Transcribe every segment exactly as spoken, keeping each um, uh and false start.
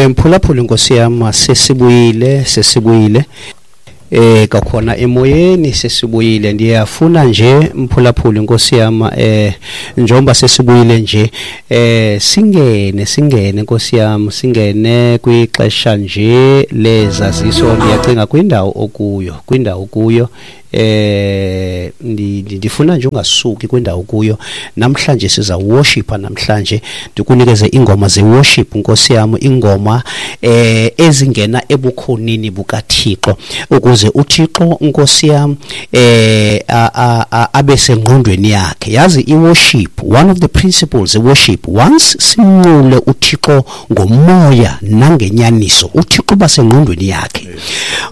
Mphulaphuli Nkosi yam, sesibuyile sesibuyile eh kakhona emoyeni, sesibuyile. Ndiyafuna nje mphulaphuli Nkosi yam, eh njengoba sesibuyile nje eh singene singene Nkosi yam, singene kwixesha nje lezaziso. Ndiyacinga kwindawo okuyo kwindawo kuyo eh ndifuna nje ungasuki kwindawo kuyo. Namhlanje siza worshipa, namhlanje ndikunikeze ingoma ze worship Nkosi yam, ingoma eh ezingena ebukhonini bukaThixo ukuze uThixo Nkosi yam eh abe sengqondweni yakhe. Yazi i worship, one of the principles of worship, once simnqule uThixo ngomoya nangenyaniso, uThixo basengqondweni yakhe.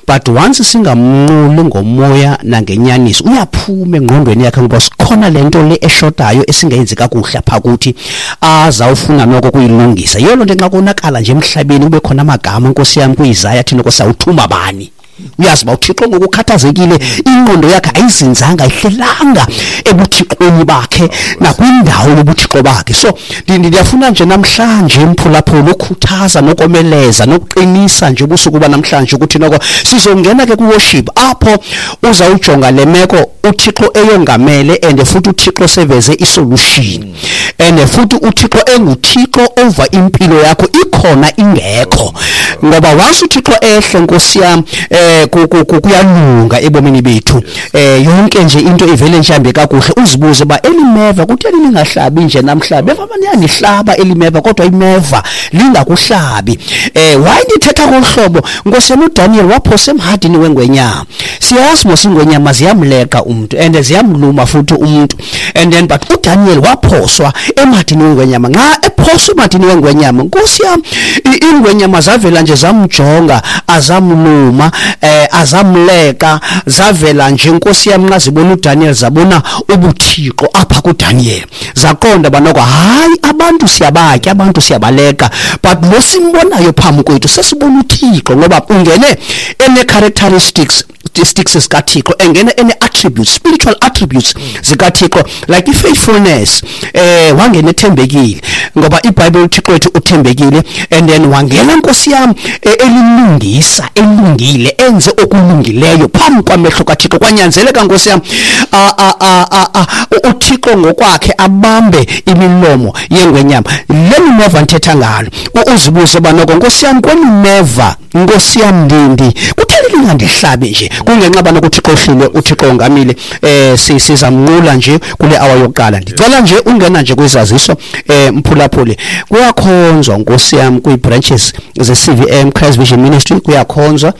But once singamnquli ngomoya nangenyaniso, uyaphuma engqondweni yakhe ngoba sikhona lento le eshotayo esingayenzi kakuhle apha kuthi azawufuna noko kuyilungisa. Yiyo lonto nxa konakala nje emhlabeni kube khona amagama Nkosi yam kuIsaya athi noko sawuthuma bani. Uyazi ba uThixo ngokukhathazekile, ingqondo yakhe ayizinzanga, ayihlelanga ebuthixweni bakhe nakwindawo yobuthixo bakhe. So ndiyafuna nje namhlanje mphulaphula ukukhuthaza nokomeleza nokuqinisa nje ubusuku banamhlanje ukuthi noko sizongena ke ku-worship apho uzawujonga le meko uThixo eyongamele, and futhi uThixo seveze isolution, and futhi uThixo enguThixo over impilo yakho ikhona ingekho. Ngoba once uThixo ehle Nkosi yam kuyalunga ebomini bethu, eh yonke nje into ivele nje ihambe kakuhle. Uzibuze ba elimeva kutheni lingahlabi nje namhla, beva baniyangihlaba elimeva kodwa imeva lingakuhlabi. Eh why ndithetha ngohlobo Nkosi yam? uDaniel waphosa emhadini wengwenyama. Siyazi mos ingwenyama ziyamleqa umuntu and ziyamluma futhi umuntu, and then but uDaniel waphoswa emhadini wengwenyama. Nxa ephoswa emhadini wengwenyama Nkosi yam, ingwenyama zavela nje zamjonga, azamluma, eh azamleka, zavela nje Nkosi yam nxa zibona uDaniel zabona ubuthixo apha kuDaniel, zaqonda banoko hayi abantu siyabatya, abantu siyabaleka, but lo simbonayo phambi kwethu sesibona uThixo. Ngoba ungene ene characteristics sticks zikaThixo, engena ene attributes, spiritual attributes zikaThixo like i-faithfulness. Eh wangena ethembekile ngoba iBhayibheli uThixo wethu uthembekile, and then wangena Nkosi yam elilungisa, elungile, enze okulungileyo phambi kwamehlo kaThixo. Kwanyanzeleka Nkosi yam uThixo ngokwakhe abambe imilomo yengwenyama. Le meva ndithetha ngalo, uzibuze banoko Nkosi yam, kwemeva Nkosi yam ndindi kutheni lingandihlabi nje? Kungenxa bana uThixo ohlile, uThixo ongamile. Eh sizamnqula nje kule hour yokuqala. Ndicela nje ungena nje kwizaziso eh mphulaphuli. Kuyakhonzwa Nkosi yam kwi branches ze C V M Christ Vision Ministry, kuyakhonzwa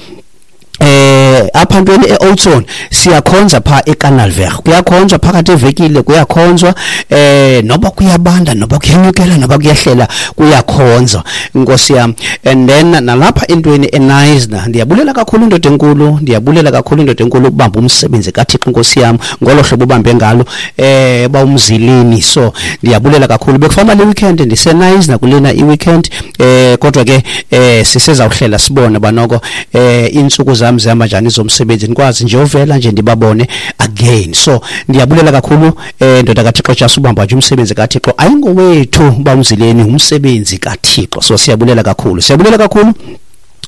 eh apha ntweni eOldson, siyakhonza pha eCanalver, kuyakhonzwa phakathi evekile, kuyakhonzwa eh noba kuyabanda noba kuyenyukela noba kuyehlela, kuyakhonzwa Nkosi yam. And then nalapha entweni eNaisna, ndiyabulela kakhulu indoda enkulu, ndiyabulela kakhulu indoda enkulu ukubamba umsebenzi kaThixo Nkosi yam ngolo hlobo ubambe ngalo eh bawumzilini. So ndiyabulela kakhulu. Bekufana le weekend ndiseNaisna kulena i-weekend eh kodwa ke eh sisezawuhlela sibone banoko eh insuku zami zihamba njani zomsebenzi, nikwazi nje uvela nje ndibabone again. So ndiyabulela kakhulu eh ndoda kaThixo Jesu, ubamba nje umsebenzi kaThixo, ayingowethu bawumzileni, umsebenzi kaThixo. So siyabulela kakhulu, siyabulela kakhulu.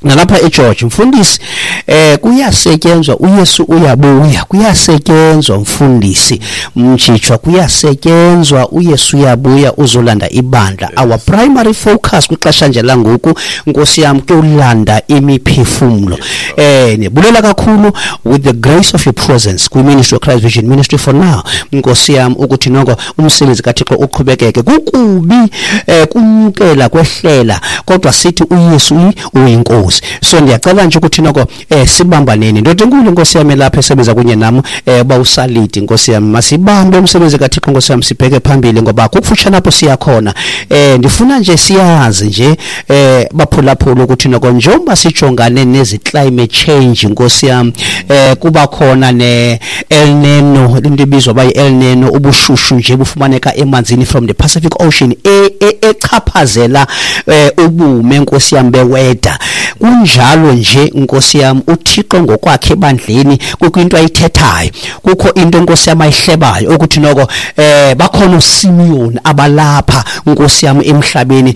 Nalapha eGeorge mfundisi eh kuyasetyenzwa, uYesu uyabuya, kuyasetyenzwa mfundisi mjijwa, kuyasetyenzwa, uYesu uyabuya uzolanda ibandla. Our primary focus kwixesha nje langoku Nkosi yam kuyolanda imiphefumlo. Eh nibulela kakhulu with the grace of your presence kwi Ministry of Christ Vision Ministry for now Nkosi yam ukuthi noko umsebenzi kaThixo uqhubekeke. Kukubi eh kunyukela kwehlela, kodwa sithi uYesu uyinkosi. So ndiyacela nje ukuthi noko eh sibambaneni ndoda enkulu Nkosi yami lapha esebenza kunye nami eh bawusalidi Nkosi yami, masibambe umsebenzi kaThixo Nkosi yami, sibheke phambili ngoba kukufutshane apho siyakhona. Eh ndifuna nje siyazi nje eh baphulaphula ukuthi noko njengoba sijongane nezi climate change Nkosi yami, eh kuba khona ne El Nino, into ebizwa ba El Nino, ubushushu nje bufumaneka emanzini from the Pacific Ocean echaphazela ubume Nkosi yami beweda. Kunjalo nje Nkosi yam, uThixo ngokwakhe ebandleni kukho into ayithethayo, kukho into Nkosi yam ayihlebayo ukuthi noko eh bakhona uSimeon abalapha Nkosi yam emhlabeni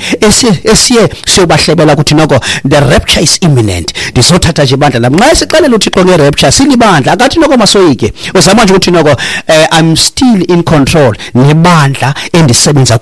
esiye siyobahlebela ukuthi noko the rapture is imminent. Ndizothatha nje ibandla lam. Nxa sixelela uThixo nge-rapture silibandla, akathi noko masoyike, uzama nje ukuthi noko eh, I'm still in control nebandla endisebenza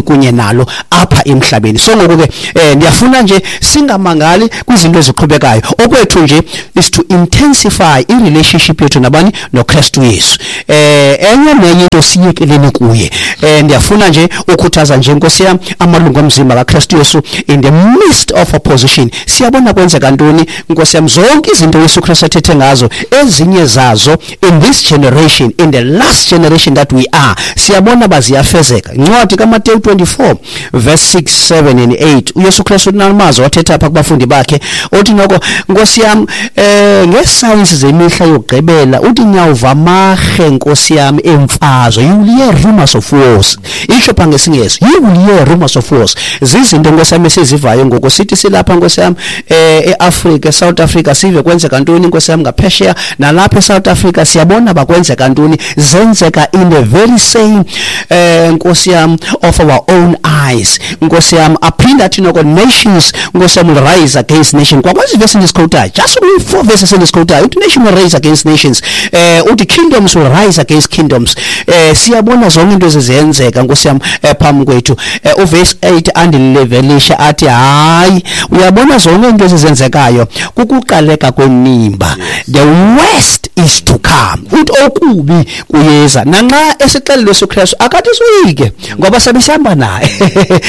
kunye nalo apha emhlabeni. So ngoku ke eh, ndiyafuna nje singamangali kwizinto eziqhubekayo. Okwethu nje is to intensify i-relationship yethu nabani, noKristu Yesu. Eh enye nenye into siyekeleni kuye. Eh ndiyafuna nje ukhuthaza nje Nkosi yam amalungu omzimba kaKristu Yesu in the midst of opposition. Siyabona kwenzeka ntoni Nkosi yam, zonke izinto Yesu Kristu athethe ngazo, ezinye zazo in this generation, in the last generation that we are, siyabona baziyafezeka. Incwadi kaMateyu twenty-four verse six, seven and eight, uYesu Kristu unamazwi wathetha apha kubafundi bakhe, uthi noko Nkosi yam eh ngesayensi zemihla yokugqibela uthi niyawuva amarhe Nkosi yam emfazwe, you will hear rumors of wars. Isho pha ngesingesi, you will hear rumors of wars. Zizinto Nkosi yam esizivayo ngoku, sithi silapha Nkosi yam eh eAfrika, eSouth Africa, sive kwenzeka ntoni Nkosi yam ngaphesheya, nalapha eSouth Africa siyabona bakwenzeka ntoni, zenzeka in the very same eh Nkosi yam of our own eyes. Nkosi yam aphinda athi noko nations Nkosi yam will rise against nation. Kwakwezi verse endiziquotayo, just only four verses endiziquotayo, uthi nation will rise against nations, eh uthi kingdoms will rise against kingdoms. Eh siyabona zonke into ezizenzeka Nkosi yam phambi kwethu. Uverse eight andilevelisha athi hayi, uyabona zonke into ezizenzekayo kukuqaleka kwenimba, the worst is to come. Uthi okubi kuyeza. Nanxa esixelele Yesu Kristu akathi soyike ngoba sabe sihamba naye,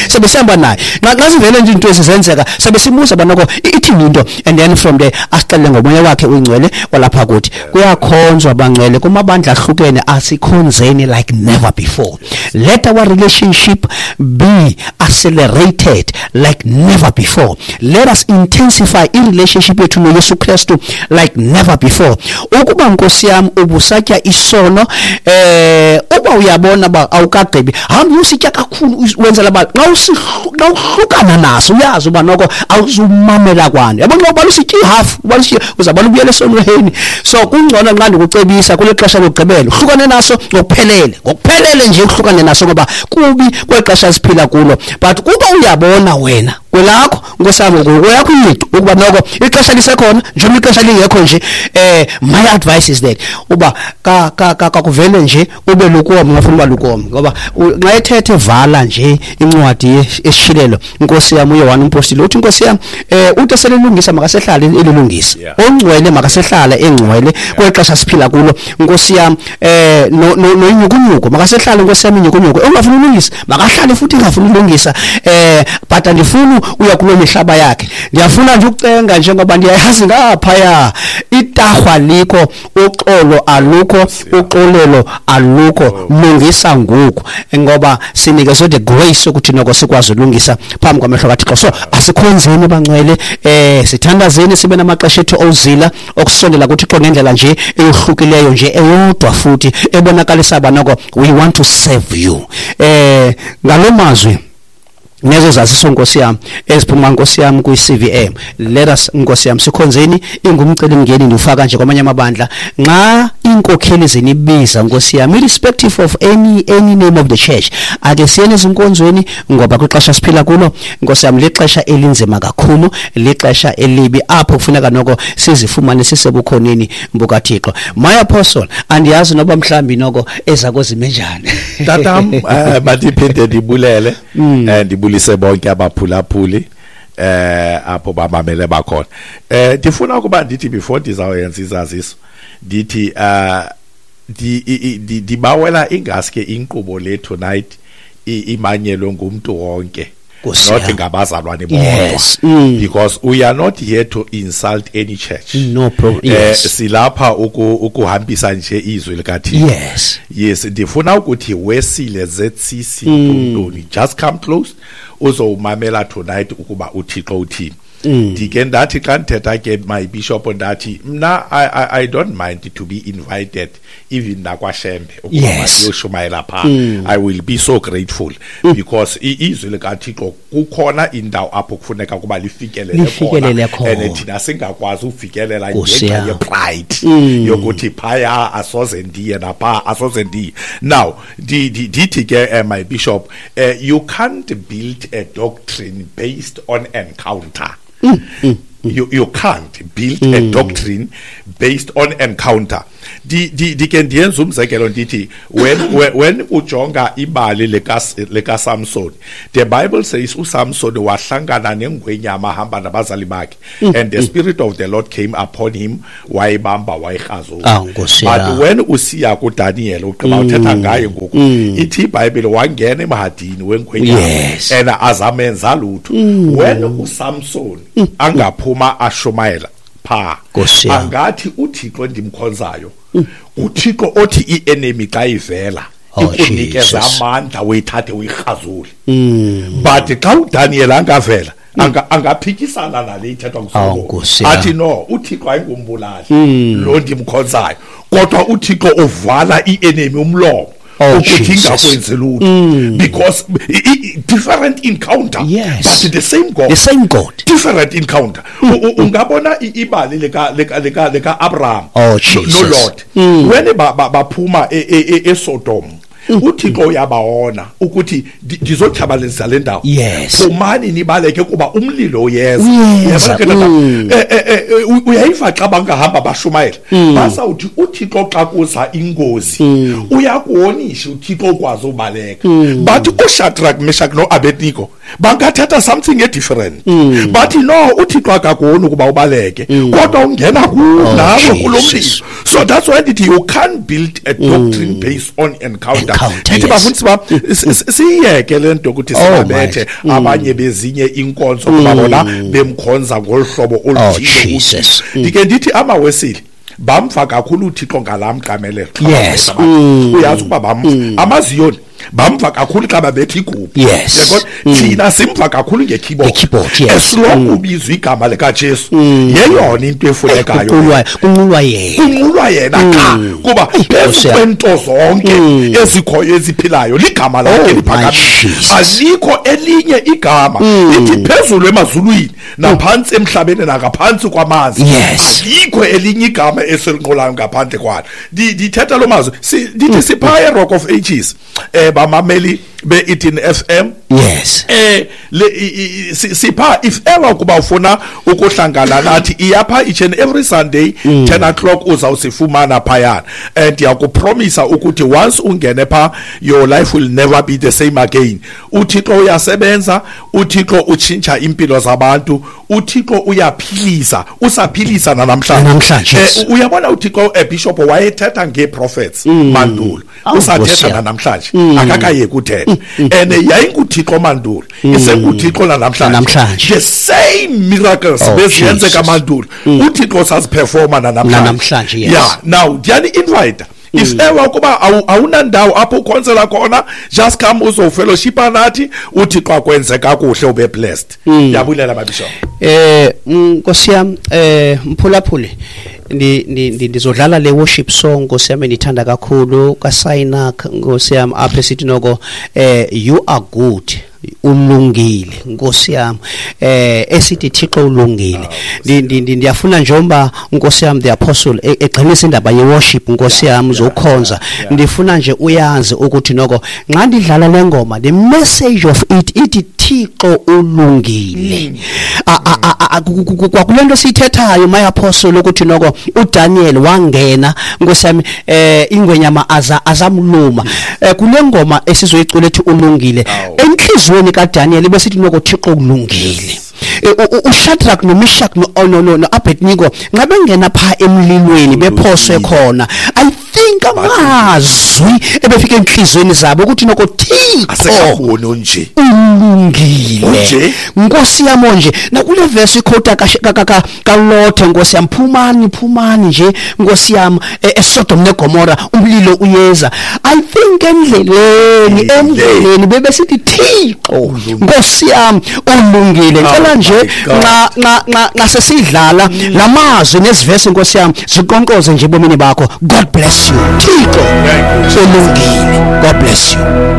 sabe sihamba naye. Nxa sivele nje into ezizenzeka sabe sibuza banoko ithini into, and then from there asixelele ngomoya wakhe uyingcwele walapha kuthi. Kuyakhonzwa bangcwele kumabandla ahlukene, asikhonzeni like never before. Let our relationship be accelerated like never before. Let us intensify i-relationship yethu noYesu Kristu like never before. Ukuba Nkosi yam ubusatya isono, eh uba uyabona ba awukagqibi, hamba usitya kakhulu wenzela ba xa uhlukana naso uyazi uba noko awuzumamela kwani. Yabona xa usitya ihalf, uba uzabona ubuyele esonweni. So kungcono nxa ndikucebisa kule xesha lokugqibela uhlukane naso ngokuphelele, ngokuphelele nje uhlukane naso ngoba kubi kwexesha siphila kulo. But kuba uyabona wena kwelakho Nkosi yam ngokwakho ingqiqo ukuba noko ixesha lisekhona njengoba ixesha lingekho nje, eh my advice is that uba ka ka kakuvele nje ube lukomi, ungafuna uba lukomi ngoba nxa ethethe vala nje incwadi esishilelo Nkosi yam uYohane umpostile uthi Nkosi yam eh uthi selilungisa makasehlale elilungisa, ongcwele makasehlale engcwele kwexesha siphila kulo Nkosi yam, eh no noyinyukunyuku makasehlale Nkosi yam inyukunyuku, ongafuna ulungisa makahlale futhi engafuna ulungisa, eh but andifuni uya kulo mihlaba yakhe. Ndiyafuna nje ukucenga njengoba ndiyayazi ngaphaya itahwa likho, uxolo alukho, uxolelo alukho, lungisa ngoku ngoba sinikezwe the grace ukuthi noko sikwazi ulungisa phambi kwamehlo kaThixo. So asikhonzeni bangcwele, eh sithandazeni, sibe namaxesha ethu ozila okusondela kuThixo ngendlela nje eyohlukileyo nje eyodwa futhi ebonakalisa banoko we want to serve you. Eh ngalomazwi nezo zaziso Nkosi yam eziphuma Nkosi yam kwi-C V M, let us Nkosi yam sikhonzeni. Ingumcelimngeni ndiwufaka nje kwamanye amabandla, nxa iinkokheli zinibiza Nkosi yam irrespective of any any name of the church, ake siyeni ezinkonzweni ngoba kwixesha siphila kulo Nkosi yam lixesha elinzima kakhulu, lixesha elibi apho kufuneka noko sizifumane sisebukhoneni bukaThixo. My apostle, andiyazi noba mhlambi noko ezako zime njani. Tatam, eh mandiphinde ndibulele eh ndibulise bonke abaphulaphuli eh apho bamamele bakhona. Eh ndifuna ukuba ndithi before ndizawuyenza izaziso ndithi eh ndibawela ingaske inkqubo le tonight imanyelwe ngumuntu wonke, not ngabazalwane bodwa. Yes. Mm. Because we are not here to insult any church. No problem. Yes. Eh silapha ukuhambisa nje izwi likaThixo. Yes. Yes, ndifuna ukuthi wesile Z C C Ntoni, just come close uzowumamela tonight ukuba uThixo uthini. Ndike ndathi xa ndithetha ke, my bishop, ndathi mna I, I, I don't mind to be invited even nakwaShembe ukuba Yes. ndiyoshumayela phaa. I will be so grateful because i- izwi likaThixo kukhona indawo apho kufuneka kuba lifikelele Lifikelele khona. And thina singakwazi ufikelela Nkosi ngenxa yam. ye-pride yokuthi phaya asoze ndiye, napha asoze ndiye. Now ndi- ndi- ndithi ke, eh, my bishop, uh, you can't build a doctrine based on encounter. you, you can't build a doctrine based on encounter. Di di ndike ndiyenza umzekelo, ndithi when when, when ujonga ibali lika lika Samson, the Bible says uSamson wahlangana nengwenyama ahamba nabazali bakhe, and the spirit of the Lord came upon him, wayibamba, wayirhazula. Ah, Nkosi But yam. when usiya kuDaniel, ugqiba uthetha ngaye ngoku, ithi iBhayibhile wangena emhadini wengwenyama Yes. and azamenza lutho. When uSamson angaphuma ashumayela pha, Nkosi yam. angathi uThixo ndimkhonzayo, uThixo othi i-enemy xa ivela Oh, ikunikeza Jesus. amandla uyithathe uyirhazule. But xa uDaniel angavela, anga angaphikisana nale ithethwa Oh, nguSolomon, Nkosi yam. athi no, uThixo ayingumbulali lo ndimkhonzayo, kodwa uThixo uvala i-enemy umlomo Oh, ukuthi Jesus. ingakwenzi lutho, because i- i- different encounter, Yes. but the same God. The same God. Different encounter. U- u- ungabona i- ibali lika lika lika lika Abraham Oh, no- Jesus. no Lot, when ba- ba- baphuma e- e- e- eSodom, uThixo uyabawona ukuthi ndi- ndizotshabalalisa le ndawo. Yes. Phumani nibaleke kuba umlilo uyeza. Uyeza, Uyabona ke tata? Eh, eh, eh, u- uyayiva xa bangahamba bashumayela, basawuthi uThixo xa kuza ingozi uyakuwonisha, uThixo ukwazi ubaleka. But uShadrach, Meshach noAbednego bangathetha something e-different, bathi no, uThixo akakuwoni ukuba ubaleke, kodwa ungena kuwo nawe kulo mlilo. Jesus. So that's why ndithi you can't build a doctrine based on encounter. Encounter, Ndithi yes. bafundisi bam, s- s- siyeke le nto ukuthi Oh, singabethe my. abanye bezinye inkonzo kuba bona bemkhonza ngolu hlobo oluthile. Jesus. uThixo. Ndike ndithi amaWesile bamva kakhulu uThixo ngalaa mqamelelo. Yes. Uyazi ukuba bamva. AmaZiyoni bamva kakhulu xa babetha igubhu. Yes. Uyabona? Thina simva kakhulu nge-keyboard. Nge-keyboard, yes. As long ubizwa igama likaJesu, yeyona into efunekayo. Kunqulwa kunqulwa yena. Kunqulwa yena qha, kuba phezu Nkosi yam. kwento zonke ezikhoyo eziphilayo ligama lakhe Oh, my liphakamile. Jesus. Alikho elinye igama lithi phezulu emazulwini naphantsi emhlabeni nangaphantsi kwamanzi, Yes. alikho elinye igama esilinqulayo ngaphandle kwalo. Ndi- ndithetha lo mazwi, si- ndithi siphaya Rock of Ages, eh bamameli be-Eden F M. Yes. eh le i- i- si- sipha, if ever kuba ufuna ukuhlangana nathi, iyapha each and every Sunday ten o'clock, uzawusifumana phayana, and ndiyakupromisa ukuthi once ungene pha, your life will never be the same again. UThixo uyasebenza, uThixo utshintsha impilo zabantu, uThixo uyaphilisa, usaphilisa nanamhlanje. Nanamhlanje, yes. Eh, uyabona uThixo, eh, bishop, wayethetha ngee-prophets mandulo, Awu, Nkosi usathetha yam. nanamhlanje, akakayeki uthetha, and yayinguThixo mandulo, isenguThixo nanamhlanje. Nanamhlanje. The same miracles Oh, beziyenzeka Jesus. mandulo, uThixo saziperforma nanamhlanje. Nanamhlanje, yes. Yeah, now ndiyani-invite, if ever ukuba awu- awunandawo apho ukhonzela khona, just come uzofellowshipa nathi, uThixo akwenze kakuhle, ube blessed. Ndiyabulela, mabishop. Eh Nkosi yam, eh mphulaphuli, ndi ndi ndi- ndizodlala le worship song, Nkosi yami, ndithanda kakhulu kaSainak, Nkosi yami, apha esithi noko eh you are good, ulungile, Nkosi yami, eh esithi Thixo ulungile. Ndi- ndi- ndi- ndiyafuna njengoba, Nkosi yami, the apostle e- egqinisa indaba ye worship, Nkosi yami, uzokhonza, ndifuna nje uyazi ukuthi noko nxa ndidlala le ngoma, the message of it ithi Thixo ulungile. A- a- a- a- ku- ku- ku- kwakule nto siyithethayo, my apostle, ukuthi noko uDaniel wangena, Nkosi yami, eh ingwenyama aza azamluma. Eh kule ngoma esizoyicula ethi ulungile, Awu. enhliziyweni kaDaniel besithi noko Thixo ulungile. Eh, u- u- uShadrach noMeshach no no no no Abednego nxa bengena pha emlilweni bephoswe khona, I think think amazwi ebefika enhlizweni zabo ukuthi noko Thixo Asekaboni onje. Ulungile. Unje? Nkosi yami, nje nakule verse iquote ka kaLothe, nkosi yami, phumani, phumani nje, nkosi yami, e- eSodom neGomora, umlilo uyeza. I think endleleni, endleleni bebesithi, "Thixo, nkosi yami, ulungile." Ngicela Oh nje my God. nxa nxa nxa nxa sesidlala lamazwi nezivesi, nkosi yami, ziqonqoze nje ebomini bakho. God bless you. Thixo Thank you. ulungile. God bless you.